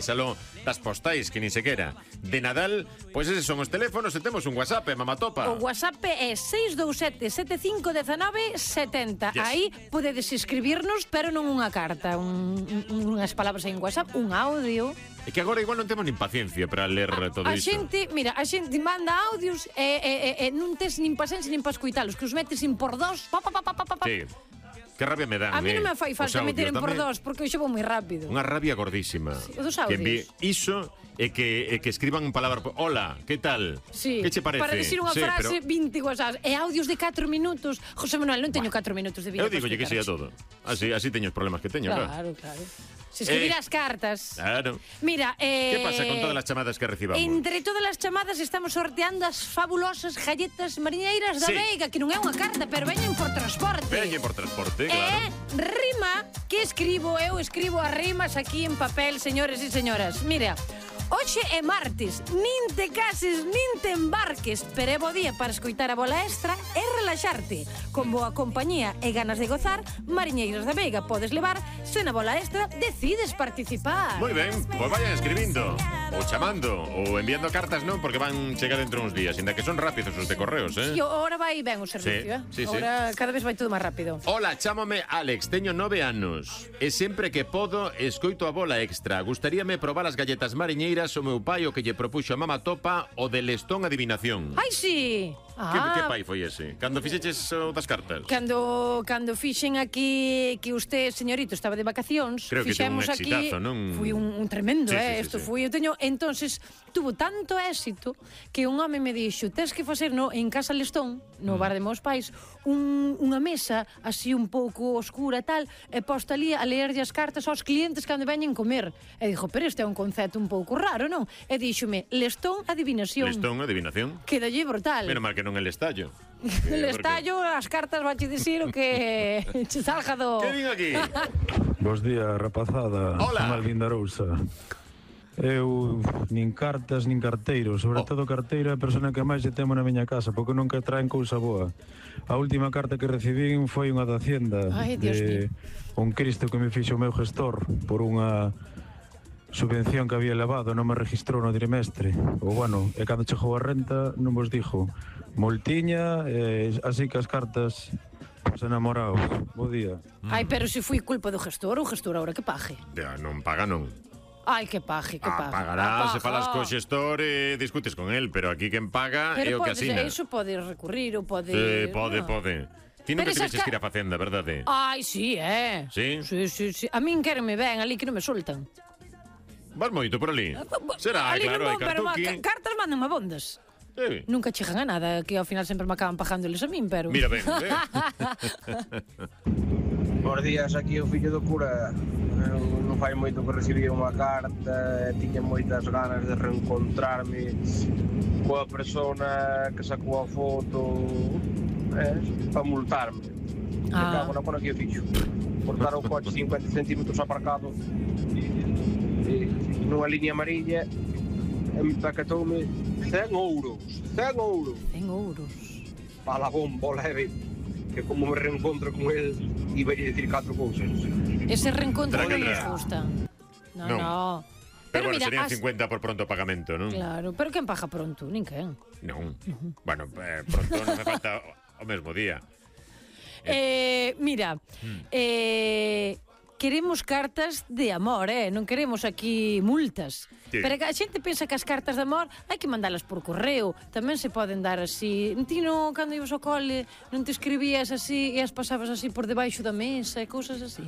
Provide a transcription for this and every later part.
Salón das postais, que nin sequera. De Nadal, pois eses son os teléfonos e temos un WhatsApp, mamatopa. O WhatsApp é 627-7519-70. Yes. Aí podedes escribirnos, pero non unha carta, unhas palabras en WhatsApp, un audio. É que agora igual non temos nin paciencia para ler todo isto. A xente manda audios e non tes nin paciência nin para escuitalos, que os metes in por dos. Sí. Que rabia me dan, A mí non me fai falta meter en por tamén. dos, porque eu vou moi rápido. Unha rabia gordísima. Sí, os que audios. Iso é que escriban palabra. Hola, que tal? Sí, que che parece? para decir unha frase, pero 20 WhatsApp. E audios de 4 minutos. José Manuel, non teño 4 minutos de vida. Eu digo que sea todo. Así teño os problemas que teño, Claro. Se escribirás cartas. Claro. Mira, Que pasa con todas as chamadas que recibamos? Entre todas as chamadas estamos sorteando as fabulosas galletas mariñeiras da Sí. Veiga, que non é unha carta, pero veñen por transporte. Veñen por transporte, claro. Rima, que escribo? Eu escribo as rimas aquí en papel, señores e señoras. Mira, hoxe é martes, nin te cases, nin te embarques, pero é bo día para escoitar a bola extra e relaxarte. Con boa compañía e ganas de gozar, Mariñeiras da Veiga podes levar, se na bola extra decides participar. Moi ben, pois vayan escribindo ou chamando ou enviando cartas, non, porque van chegar dentro uns días, ainda que son rápidos os de correos, Sí, ahora vai ben o servicio, Sí. Ahora cada vez vai todo máis rápido. Hola, chámame Alex, teño 9 anos e sempre que podo escoito a bola extra. Gustaríame probar as galletas mariñeiras. O meu pai o que lle propuxo a mamatopa o de lestón adivinación. Ai, sí! Que pai foi ese? Cando fixeches o das cartas? Cando fixen aquí que usted, señorito, estaba de vacacións, Creo que fixemos tuvo un exitazo, aquí, non? foi un tremendo, Sí, isto sí. foi, eu teño, entonces tuvo tanto éxito que un home me dixo, tes que facer en Casa Lestón, no bar de meus pais, unha mesa así un pouco oscura e tal, e posta ali a leerlle as cartas aos clientes cando veñen comer. E dixo, pero este é un concepto un pouco raro, non? E díxome, Lestón adivinación. Lestón adivinación. Quedalle brutal. Menos mal que non el estallo. El estallo, as cartas vache dicir o que che salga do... Que vin aquí? Bos días, rapazada. Hola. Son Alvin da Arousa. Eu nin cartas nin carteiro, sobre todo carteiro é a persona que máis lle temo na miña casa, porque nunca traen cousa boa. A última carta que recibín foi unha da Hacienda. Ai, Dios mío. Un Cristo que me fixo o meu gestor por unha subvención que había elevado, non me registrou no trimestre. Ou bueno, e cando chegou a renta non vos dixo moltiña, así que as cartas os enamorados. Bo día. Ai, pero se foi culpa do gestor, o gestor ahora que pague. Non paga, non. Ai, que pague, que pague. Pagará, se falas co xestor e discutes con el, pero aquí quen paga é Pero o que podes, asina. iso pode recurrir ou pode... Pode. Ti nunca Pero esas tiveches que ir a Facenda, verdade? Ai, sí, Sí? Sí. A min quérenme ben, ali que non me soltan. Vas moito por ali? Será, Ali claro, hai non vou, pero cartuqui. cartas mandan a bondas. Sí. Nunca chegan a nada, que ao final sempre me acaban pagándoles a min, pero... Mira ben, Bos días, aquí o fillo do cura. Non fai moito que recibí unha carta, tiña moitas ganas de reencontrarme coa persona que sacou a foto para multarme. Cago na bona que o fixo. Portar o coche 50 centímetros aparcado nunha liña amarilla e me tacatoume 100 euros. 100 euros. 100 euros. Para la bomba leve, que como me reencontro con él iba a decir 4 cousas. Ese reencontro non Tranquila. nos gusta. Non. No. Pero bueno, mira, serían 50 por pronto pagamento, non? Claro, pero quen paga pronto? Nin quen. Non. Bueno, pronto non me falta o mesmo día. Mira, queremos cartas de amor, non queremos aquí multas. Sí. Pero a xente pensa que as cartas de amor hai que mandalas por correo, tamén se poden dar así. Ti non, cando ibas ao cole, non te escribías así e as pasabas así por debaixo da mesa e cousas así?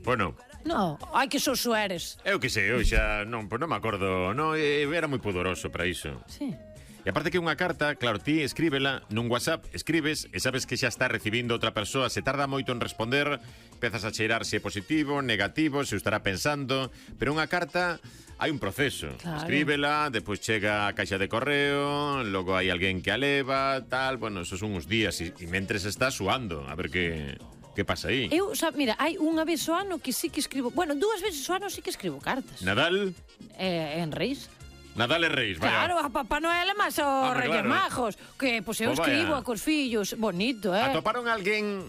Bueno, No, ai que soso eres. eu que sei, eu xa non me acordo, non, era moi pudoroso para iso. Sí. E aparte que unha carta, claro, ti escríbela nun WhatsApp, escribes e sabes que xa está recibindo outra persoa, se tarda moito en responder, empezas a cheirar se é positivo, negativo, se o estará pensando, pero unha carta hai un proceso. Claro. Escríbela, depois chega a caixa de correo, logo hai alguén que a leva, tal, bueno, esos son uns días e mentres está suando, a ver que pasa aí. Eu, mira, hai unha vez ao ano que sí que escribo, bueno, 2 veces ao ano sí que escribo cartas. Nadal, En Reis. Nadal e Reis, vaya. Claro, a Papá Noel e máis aos Home, Reyes claro. Majos, que pois eu Pois vaya. escribo cos fillos, bonito, Atoparon alguén,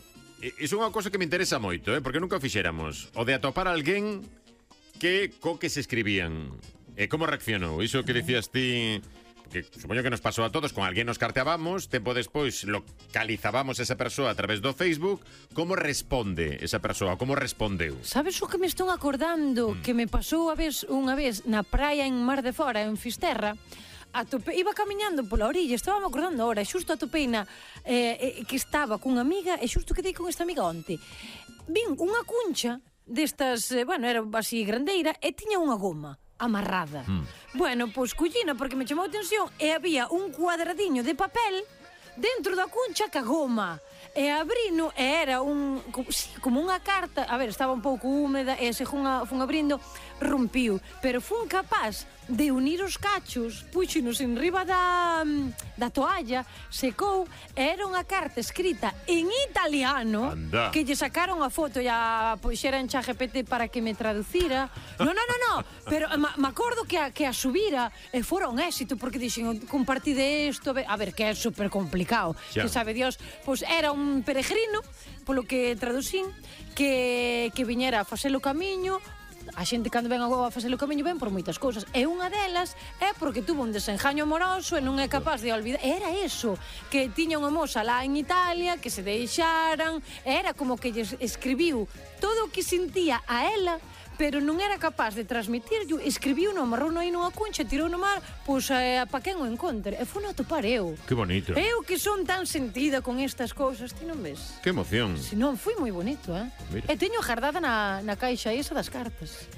iso é unha cousa que me interesa moito, porque nunca o fixéramos, o de atopar alguén que se escribían. Como reaccionou? Iso que dicías ti... Que supoño que nos pasou a todos, con alguén nos carteábamos, tempo despois localizábamos esa persoa a través do Facebook. Como responde esa persoa? Como respondeu? Sabes o que me estou acordando? Que me pasou unha vez na praia en Mar de Fora, en Fisterra. Iba camiñando pola orilla, estaba me acordando ahora, xusto atopei que estaba cunha amiga, e xusto quedei con esta amiga onte. Vin unha cuncha destas, era así grandeira, e tiña unha goma amarrada. Bueno, pois collina porque me chamou a atención, e había un cuadradiño de papel dentro da cuncha ca goma. E abrino, e era como unha carta. A ver, estaba un pouco húmeda, e se fun abrindo, rompiu. Pero fun capaz de unir os cachos, puxenos en riba da toalla, secou, e era unha carta escrita en italiano. Anda. Que lle sacaron a foto e a puxera en ChatGPT para que me traducira. No, pero me acordo que a subira e fora un éxito, porque dixen, compartide isto, a ver, que é super complicado, que sabe Dios. Pois era un peregrino, polo que traducín, que viñera a facer o camiño. A xente cando ven a facer o camiño ven por moitas cousas, e unha delas é porque tuvo un desengaño amoroso e non é capaz de olvidar. Era eso, que tiña unha moza lá en Italia, que se deixaran, era como que lle escribiu todo o que sentía a ela, pero non era capaz de transmitirlo. Escribiu no amarrou aí nunha cuncha, tirou no mar, pois pa quen o encontre, e foi a topar eu. Que bonito. Eu que son tan sentida con estas cousas, ti non ves? Que emoción. Si non, foi moi bonito, Mira. E teño gardada na caixa esa das cartas.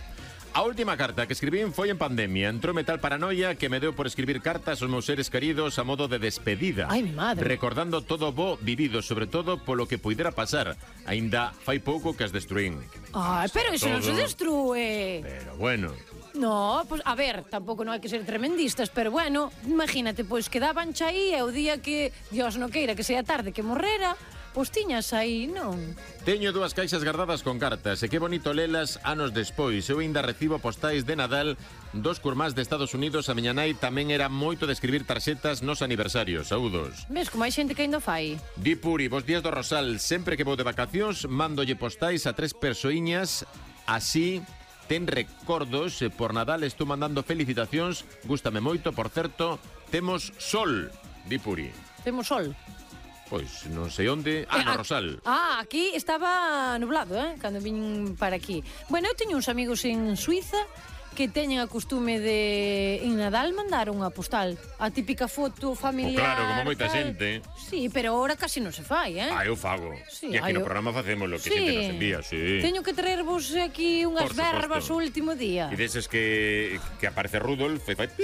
A última carta que escribín foi en pandemia. Entroume tal paranoia que me deu por escribir cartas aos meus seres queridos a modo de despedida. Ai, mi madre. Recordando todo o bo vivido, sobre todo polo que puidera pasar. Aínda fai pouco que as destruín. Ai, pero iso non se destrúe. Pero bueno. No, pois, a ver, tampouco non hai que ser tremendistas, pero bueno, imagínate, pois quedaban xa aí, e o día que Dios non queira que sea tarde que morrera, pois tiñas aí, non? Teño 2 caixas guardadas con cartas, e que bonito lelas anos despois. Eu ainda recibo postais de Nadal 2 curmás de Estados Unidos. A miña nai tamén era moito de escribir tarxetas nos aniversarios. Saúdos. Ves como hai xente que ainda fai. Di Puri, bos días do Rosal. Sempre que vou de vacacións, mándolle postais a 3 persoiñas. Así ten recordos. Por Nadal estou mandando felicitacións. Gústame moito, por certo. Temos sol, di Puri. Temos sol. Pois non sei onde. No Rosal. Aquí estaba nublado, cando vin para aquí. Bueno, eu teño uns amigos en Suiza que teñen a costume de en Nadal mandar unha postal, a típica foto familiar. Claro, como moita xente. Sí, pero ahora casi non se fai, eu fago. Sí, e aquí no programa facemos lo que xente nos envía, sí. Teño que traervos aquí unhas verbas o último día. E deses que aparece Rudolf e fai e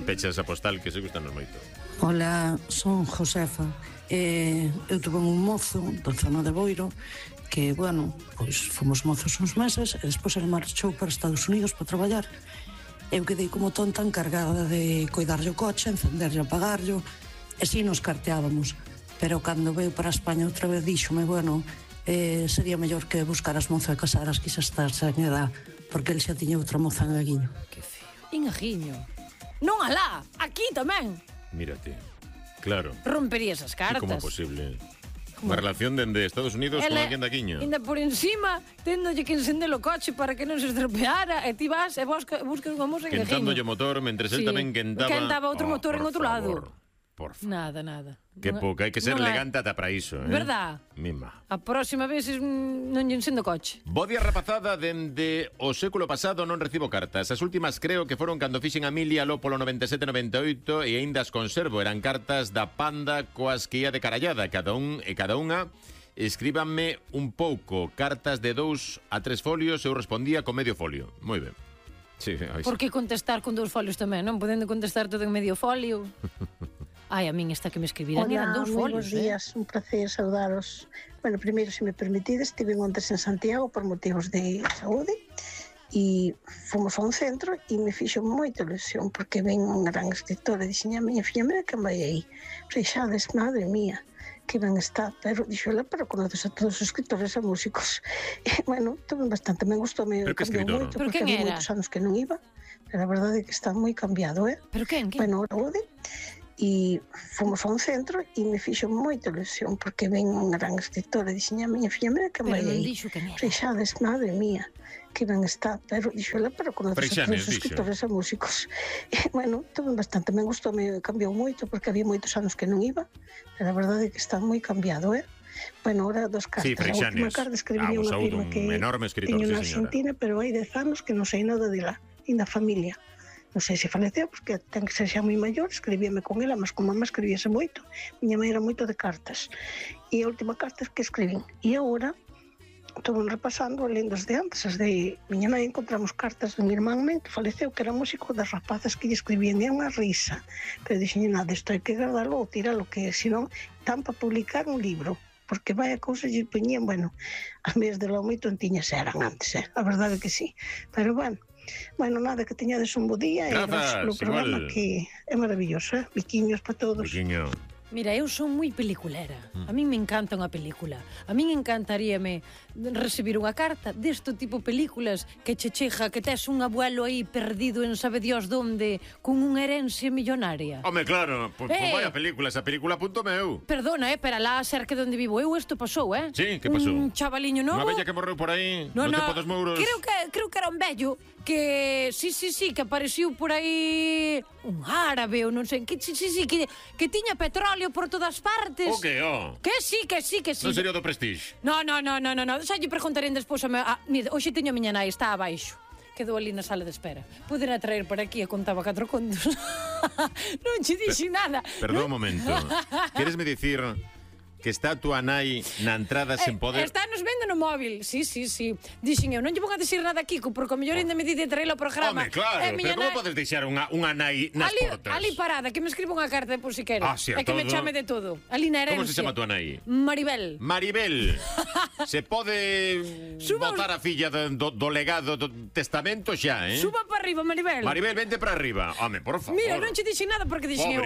pechas a postal, que se gustan moito. Hola, son Josefa. Eu tuve un mozo da zona de Boiro que, bueno, pois fomos mozos uns meses e despois ele marchou para Estados Unidos para traballar. Eu quedei como tonta encargada de coidarlle o coche, encenderlle, apagarlle, e si nos carteábamos. Pero cando veu para España outra vez díxome, bueno, sería mellor que buscaras mozo e casaras, quizá estar sen edad, porque ele xa tiña outra moza en Aguiño. Que feo. En Aguiño. Non alá, aquí tamén. Mírate, claro. Romperías as cartas. Como posible? Unha relación dende Estados Unidos con alguén da Quiña. Ainda por encima, téndolle que encender o coche para que non se estropeara, e ti vas e buscas unha moza en Aguiño. Quentándolle o motor, mentre él tamén quentaba outro motor en outro lado. Por favor. Nada. Que pouca, hai que ser elegante ata para iso, Verdad? Mima. A próxima vez non lle encendo o coche. Bo día, rapazada. Dende o século pasado non recibo cartas. As últimas creo que foron cando fixen a Milia lo polo 97-98 e aínda as conservo. Eran cartas da Panda coas que ia de carallada. Cada unha escríbanme un pouco. Cartas de 2 a 3 folios. Eu respondía con medio folio. Moi ben. Sí, por que contestar con 2 folios tamén? Non podendo contestar todo en medio folio. Ai, a min esta que me escribiran eran 2 folios. Buenos días, un placer saudaros. Bueno, primeiro, se me permitides, estive ontes en Santiago por motivos de saúde e fomos a un centro e me fixo moita ilusión porque ven unha gran escritora e dixen a miña filla, mira que vai aí. Reixades, madre mía, que ben está, pero dixola, pero conoces a todos os escritores e músicos. E, bueno, tuve bastante, me gustou, me cambiou moito, porque había moitos anos que non iba, pero a verdade é que está moi cambiado, Pero quen? Bueno, saúde. e fomos a un centro e me fixo moita ilusión porque ven unha gran escritora e dixen a miña filla, mira que vai aí Freixanes, madre mía que ben está, pero dixo ela, pero conoces a todos os escritores e músicos e, bueno, tuve bastante, me gustou, me cambiou moito porque había moitos anos que non iba, pero a verdade é que está moi cambiado, Bueno, ahora dos cartas. Sí, a última carta escribí unha prima que teño na Argentina, pero hai 10 anos que non sei nada dela, e da familia. Non sei se faleceu, porque ten que ser xa moi maior, escribíame con ela, mas con mamá escribíase moito. Miña mãe era moito de cartas. E a última carta que escribín. E agora, estou repasando, lendo as de antes, as de miña nai, encontramos cartas de mi irmán que faleceu, que era músico das rapazas que lle escribían, e unha risa. Pero dixen, nada, isto hai que guardalo ou tiralo, que senón tan para publicar un libro. Porque vai a cousa lle poñían, bueno, as meias de lo moi tontiñas eran antes, a verdade que sí. Pero bueno, nada, que teñades un bo día. Grazas, e o programa que é maravilloso, Biquiños para todos. Biquiño. Mira, eu son moi peliculera. A min me encanta unha película. A min encantaríame recibir unha carta deste tipo de películas que che chega, que tes un abuelo aí perdido en sabe Dios donde, con unha herencia millonaria. Home, claro, pues vaya película, esa película punto meu. Perdona, pero alá cerca de onde vivo eu, isto pasou, Sí, que pasou? Un chavaliño novo. Unha bella que morreu por aí, no tempo dos mouros. Creo que era un vello que, sí, que apareciu por aí un árabe ou non sei, que que tiña petróleo por todas partes. O que, Que sí. Non sería do Prestige? No. Xa lle preguntaré despois mira, hoxe teño a miña nai, está abaixo. Quedou ali na sala de espera. Poderá traer por aquí e contaba 4 contos. Non che dixen nada. Perdón un momento. Queresme dicir que está a túa nai na entrada sen poder... Está nos vendo no móvil, sí. Dixen eu, non lle vou a dicir nada aquí, porque o mellor ainda me di de traer o programa. Home, claro, pero como podes deixar unha nai nas portas? Ali parada, que me escriba unha carta por si quere. Sí, e que me chame de todo. Ali na herencia. Como se chama a túa nai? Maribel. Maribel. Se pode botar a filla do legado do testamento xa, Suba para arriba, Maribel. Maribel, vente para arriba. Home, por favor. Mira, non che dixen nada porque dixen eu,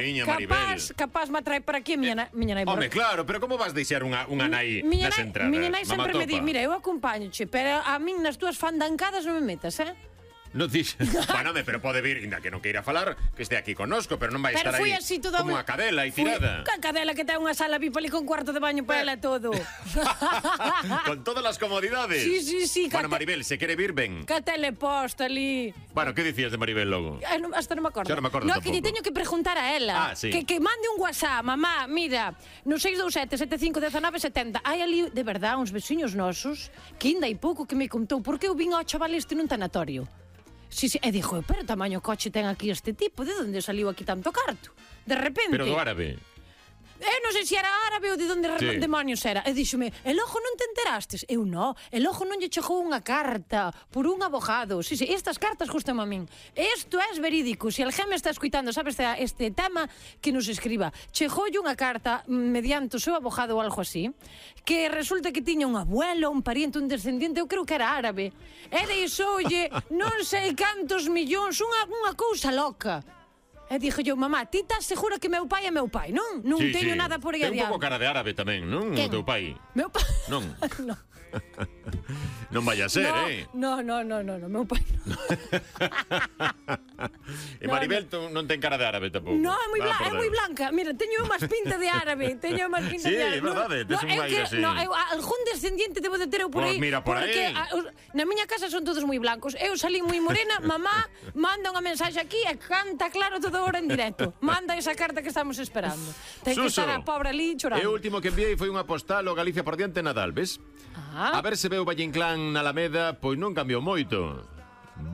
capaz me atrae para aquí a miña nai. Home, claro, pero como vas deixar unha nai nas entradas? Miña nai sempre me di, mira, eu acompañoche, pero a min nas túas fandancadas non me metas, Non dixes. Bueno, pero pode vir, inda que non queira falar, que este aquí connosco, pero non vai estar aí como unha cadela e tirada. Que cadela que ten unha sala VIP ali con cuarto de baño para ela todo. Con todas as comodidades. Sí. Bueno, Maribel, se quere vir, ben. Que teleposta ali. Bueno, que dicías de Maribel logo? Hasta non me acordo. Xa non me acordo tampouco. Que lle teño que preguntar a ela. Sí. Que mande un WhatsApp, mamá, mira, no 627-751970. Hai ali, de verdad, uns veciños nosos que ainda hai pouco que me contou porque eu vin ao chaval este nun tanatorio. Sí, e dixo, pero tamaño coche ten aquí este tipo, de onde saliu aquí tanto carto? De repente... Pero do árabe. Eu non sei se era árabe ou de onde demonios era. E díxome, el ojo non te enterastes? Eu non, el ojo non lle chegou unha carta por un abogado. Sí, estas cartas gustan a min. Isto é verídico. Se alguén me está escuitando, sabes, este tema, que nos escriba. Chegoulle unha carta mediante o seu abogado ou algo así, que resulta que tiña un abuelo, un pariente, un descendiente, eu creo que era árabe. E deixoulle non sei cantos millóns, unha cousa loca. E dixo eu, mamá, ti estás segura que meu pai é meu pai, non? Non teño nada por aí adiante. Ten un pouco cara de árabe tamén, non? O teu pai. Meu pai? Non. Non vai a ser, No, meu pai non. E Maribel non ten cara de árabe tampouco. No, é moi blanca. Mira, teño máis pinta de árabe. Sí, é verdade, tes un aire así. Algún descendiente debo de ter eu por aí. Mira, por aí. Porque na miña casa son todos moi blancos. Eu salí moi morena, mamá manda unha mensaxe aquí e canta claro todo hora en directo. Manda esa carta que estamos esperando. Ten que estar a pobre ali chorando. E o último que enviei foi unha postal ao Galicia por diante Nadal, ves? A ver se veu Valle Inclán na Alameda, pois non cambiou moito.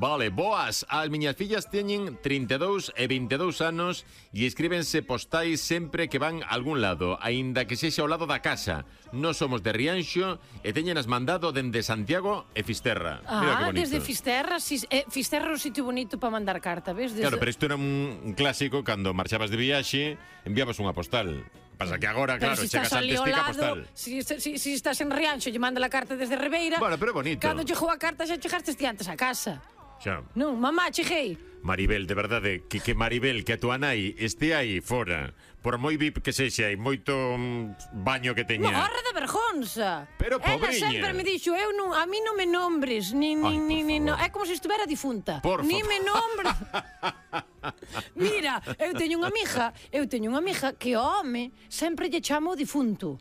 Vale, boas. As miñas fillas teñen 32 e 22 anos e escríbense postais sempre que van a algún lado, aínda que sexa ao lado da casa. Nós somos de Rianxo e teñenas mandado dende Santiago e Fisterra. Mira que bonito. Desde Fisterra, Fisterra é un sitio bonito para mandar carta, ves? Claro, pero isto era un clásico, cando marchabas de viaxe, enviabas unha postal. Pasa que agora, claro, chegas antes tica postal. Si estás en Rianxo e manda a carta desde Ribeira. Bueno, pero bonito. Cando chegou a carta xa chegaste antes a casa. Xa. Non, mamá, cheguei. Maribel, de verdade, que Maribel, que a tua nai este aí fora, por moi VIP que sexa e moito baño que teña. Morra de vergonza. Pero pobriña. Ela sempre me dixo, a mí non me nombres, ni é como se estuvera difunta. Por ni favor. me nombres. Mira, eu teño unha amiga que o home sempre lle chama o difunto.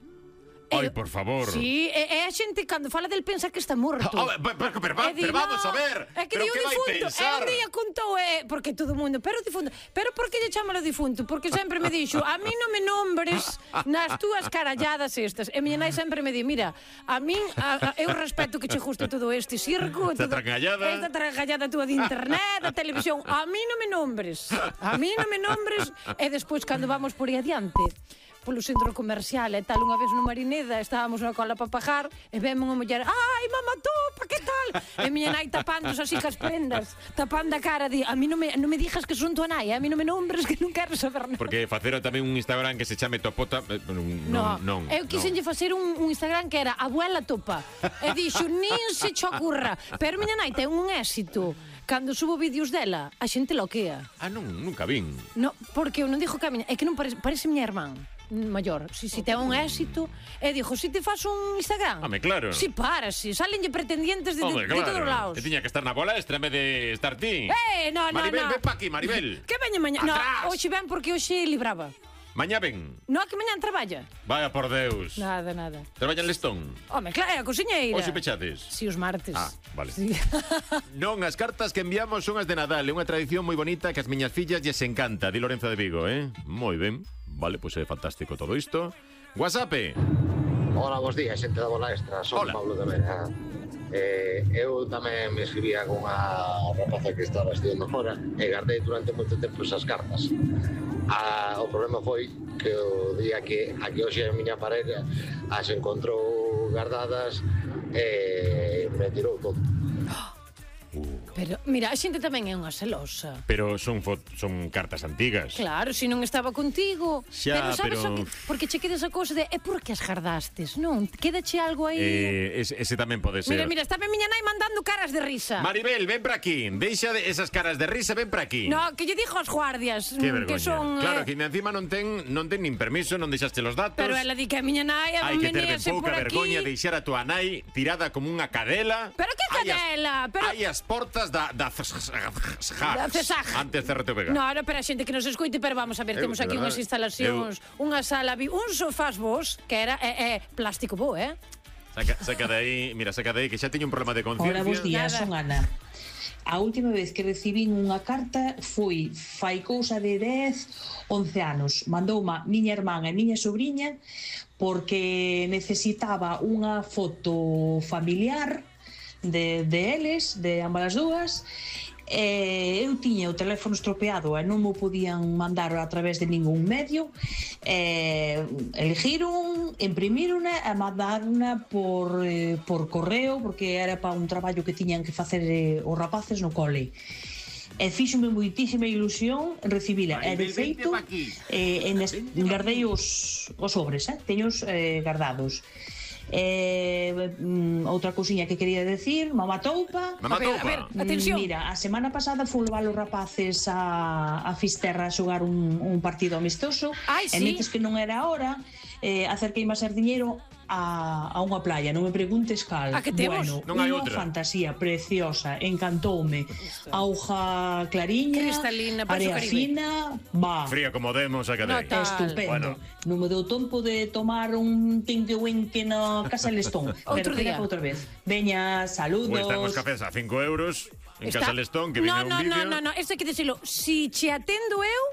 Ai, por favor. Sí, e a xente cando fala del pensa que está morto. Pero vamos a ver. É que di o difunto. E un día contou, porque todo o mundo, pero o difunto. Pero por que lle chama o difunto? Porque sempre me dixo, a mí non me nombres nas túas caralladas estas. E miña nai sempre me di, mira, a min, eu respeto que che guste todo este circo, esta trangallada túa de internet, da televisión. A mí non me nombres. E despois, cando vamos por aí adiante, polo centro comercial e tal, unha vez no Marineda estábamos na cola para pagar e vemos unha muller, ai, mamá topa, que tal? E miña nai tapándose así cas prendas, tapando a cara, di, a mí non me dijas que son tua nai, a mí non me nombres que non quero saber nada. Porque facer tamén un Instagram que se chame Topota, non. Eu quixenlle facer un Instagram que era Abuela Topa, e dixo, nin se che ocurra, pero miña nai ten un éxito. Cando subo vídeos dela, a xente loquea. Nunca vin. No, porque eu non dixo que a miña, é que non parece miña irmán maior, si ten un éxito e dixo, si te faz un Instagram claro. Si salenlle pretendientes de todos lados. E tiña que estar na bolestra en vez de estar ti. No. Maribel, ven pa aquí, Maribel. Que veña mañá? No, hoxe ven porque hoxe libraba. Mañá ven. No, que mañá traballa. Vaya por Deus. Nada. Traballa en Lestón? Claro, é a cociñeira. Hoxe pechades? Si, os martes. Vale. Sí. Non, as cartas que enviamos son as de Nadal. É unha tradición moi bonita que as miñas fillas lles encanta. Di Lorenzo de Vigo, Moi ben. Vale, pois é fantástico todo isto. WhatsApp. Hola, bons días, xente da Bola Extra. Son Pablo de Vera. Eu tamén me escribía con unha rapaza que estaba estudiando fora e guardei durante moito tempo esas cartas. O problema foi que o día que hoxe a miña parella as encontrou guardadas e me tirou todo. Pero, mira, a xente tamén é unha celosa. Pero son cartas antigas. Claro, se non estaba contigo. Xa, pero sabes o que? Porque che quedas a cousa de, por que as gardastes, non? Quédache algo aí. Ese tamén pode ser. Mira, está miña nai mandando caras de risa. Maribel, ven para aquí. Deixa esas caras de risa, ven para aquí. No, que lle dixo aos guardias que son... Claro, que encima non ten nin permiso, non deixaste los datos. Pero ela di que a miña nai hai que ter ben pouca por aquí. vergoña deixar a tua nai tirada como unha cadela. Pero que cadela? Hai as portas da CESAG. Antes CRTVG. No, pero a xente que nos escoite, pero vamos a ver, temos aquí unhas instalacións, unha sala, un sofás vos, que era plástico bo, Saca de aí, que xa teño un problema de conciencia. Hola, bons días, son Ana. A última vez que recibín unha carta foi fai cousa de 10, 11 anos. Mandouma miña irmán e miña sobrinha porque necesitaba unha foto familiar de eles, de ambas as dúas. Eu tiña o teléfono estropeado e non mo podían mandar a través de ningún medio. Eligiron, imprimírona e mandarona por correo, porque era para un traballo que tiñan que facer os rapaces no cole. E fíxome moitísima ilusión recibila. E de feito guardei os sobres, teños guardados. Outra cousiña que quería decir, mamá toupa. A ver, atención. Mira, a semana pasada fui levar os rapaces a Fisterra a xogar un partido amistoso. E netes que non era a hora, acerquei máis ser diñeiro a unha playa, non me preguntes cal. A que temos? Bueno, non hai unha outra. fantasía preciosa, encantoume. Auga clariña, cristalina, area fina, fría como demos a cadei. Estupendo. Non me deu tempo de tomar un tinque-winque na Casa Lestón. Outro día. Outra vez. Veña, saludos. Ou están os cafés a 5 euros en Casa Lestón, que viene un vídeo. No, isto hai que dicilo. Si che atendo eu,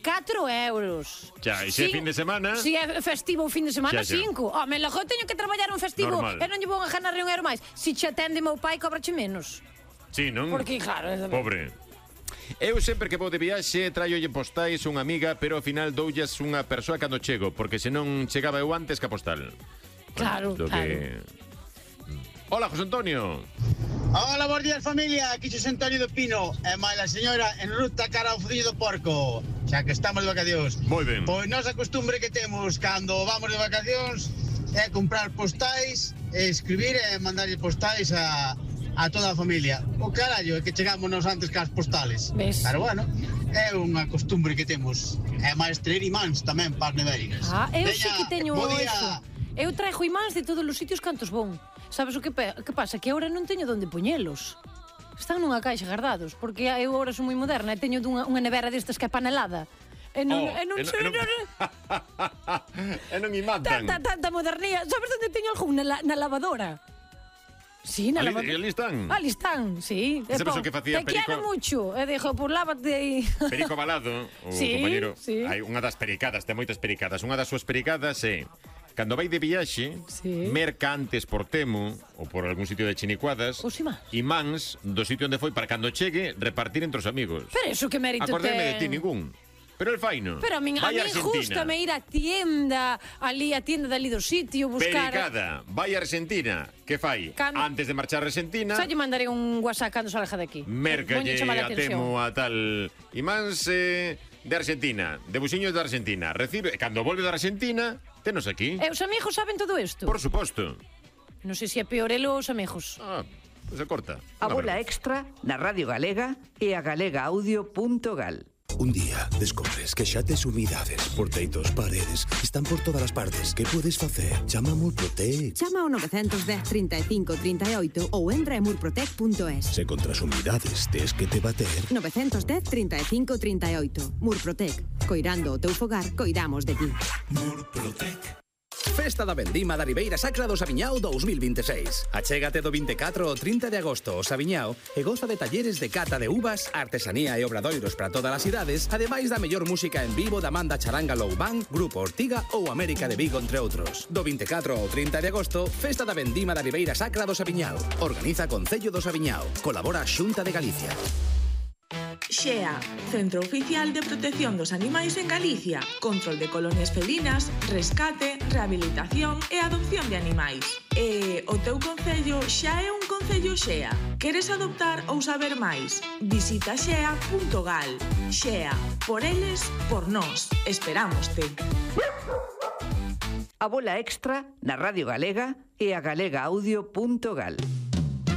4 euros. Xa, e se é fin de semana? Si é festivo o fin de semana, Xa. 5. Me logo teño que traballar un festivo Normal. e non lle vou a ganar un euro máis. Si che atende meu pai, cobrache menos. Sí, non? Porque, claro... Pobre. Eu sempre que vou de viaxe traiolle postais unha amiga, pero ao final doullas unha persoa cando chego, porque senón chegaba eu antes que a postal. Claro, Hola, José Antonio. Hola, bons días, familia. Aquí José Antonio do Pino e máis a señora en ruta cara ao Fociño do Porco, xa que estamos de vacacións. Moi ben. Pois nosa costumbre que temos cando vamos de vacacións é comprar postais, escribir e mandarlle postais a toda a familia. O carallo é que chegamos nos antes que as postales. Ves? Pero bueno, é unha costumbre que temos. E máis traer imáns tamén para as nevéricas. Eu sí que teño día. eso. Eu traigo imáns de todos os sitios cantos von. Sabes o que pasa? Que agora non teño onde poñelos. Están nunha caixa guardados, porque eu agora son moi moderna e teño unha nevera destas que é panelada. E non me matan. Tanta modernía. Sabes onde teño algún? Na lavadora. Sí, na lavadora. Ali están. Ali están, sí. Sabes o que facía Perico? Te Perico? quiero mucho. E dixo, pues lávate aí. Perico Balado, o compañero, hai unha das pericadas, ten moitas pericadas. Unha das súas pericadas é cando vai de viaxe, merca antes por Temu ou por algún sitio de chinicuadas, imáns do sitio onde foi para cando chegue repartir entre os amigos. Pero eso que mérito Acordeme de ti ningún. Pero el faino. Pero a mí gústame ir a tienda, a tienda dali do sitio, buscar... Pericada, vai a Argentina. Que fai? Antes de marchar a Argentina... Xa lle mandaré un WhatsApp cando salga de aquí. Mercalle a Temu a tal... Imáns de Argentina, de buxiños de Argentina. Recibe, cando volve da Argentina, tenos aquí. E os amigos saben todo isto? Por suposto. Non sei se é peor elo os amigos. Pues se corta. A bola extra na Radio Galega e a galegaaudio.gal. Un día descobres que xa tes humidades por teitos, paredes, están por todas as partes. Que podes facer? Chama a Murprotec. Chama ao 910 35 38 ou entra en murprotec.es. Se contra as humidades tes que te bater... 910 35 38. Murprotec. Coirando o teu fogar, coidamos de ti. Murprotec. Festa da Vendima da Ribeira Sacra do Saviñao 2026. Achégate do 24 ao 30 de agosto ao Saviñao e goza de talleres de cata de uvas, artesanía e obradoiros para todas as idades, ademais da mellor música en vivo da Manda Charanga Low Band, Grupo Ortiga ou América de Vigo, entre outros. Do 24 ao 30 de agosto, Festa da Vendima da Ribeira Sacra do Saviñao. Organiza Concello do Saviñao. Colabora a Xunta de Galicia. XEA, Centro Oficial de Protección dos Animais en Galicia. Control de colonias felinas, rescate, rehabilitación e adopción de animais. E o teu concello xa é un concello XEA. Queres adoptar ou saber máis? Visita xea.gal. XEA, por eles, por nós. Esperámoste. A bola extra na Radio Galega e a galegaaudio.gal.